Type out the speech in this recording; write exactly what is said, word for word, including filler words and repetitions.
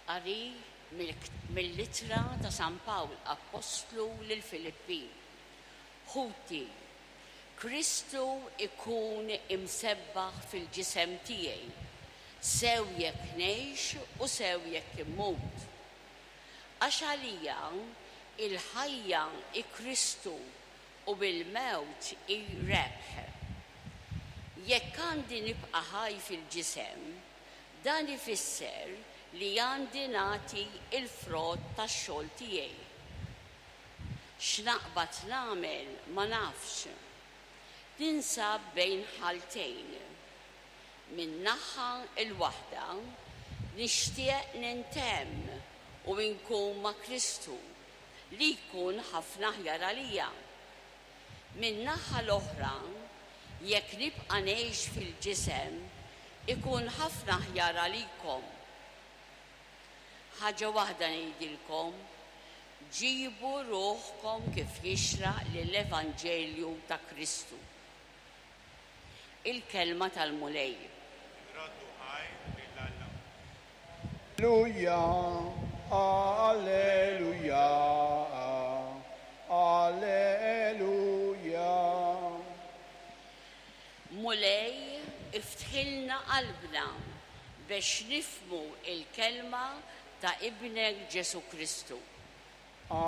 Qari mill-Ittra ta' San Pawl Appostlu lill-Filippin. Ħuti, Kristu ikun imsebbaħ fil-ġisem tiegħi, sew jekk ngħix u sew jekk immut. Għax għalija il-ħajja hi Kristu u l-mewt hi rebħ. Jekk għandi nibqa' ħaj fil-ġisem, dan ifisser li għandi nagħti il-frott tax-xogħol tiegħi. X'naqbad nagħmel ma nafx. Ninsab bejn ħaltejn. Min-naħa l-waħda nixtieq nintemm u nkun ma' Kristu li jkun ħafna aħjar għalija. Min-naħa l-oħra, jekk nibqa' ngħix fil-ġisem, ikun ħafna aħjar għalikom. Ħaġa waħda ngħidilkom, ġibu ruħkom kif jixraq lill-Evanġelju ta' Kristu. Il-kelma tal-Mulej. Nroddu ħajr lil Alla. Alleluja, alleluja, alleluja. Mulej, iftħilna qalbna biex nifhmu il-kelma ta' ibnek Ġesù Kristu.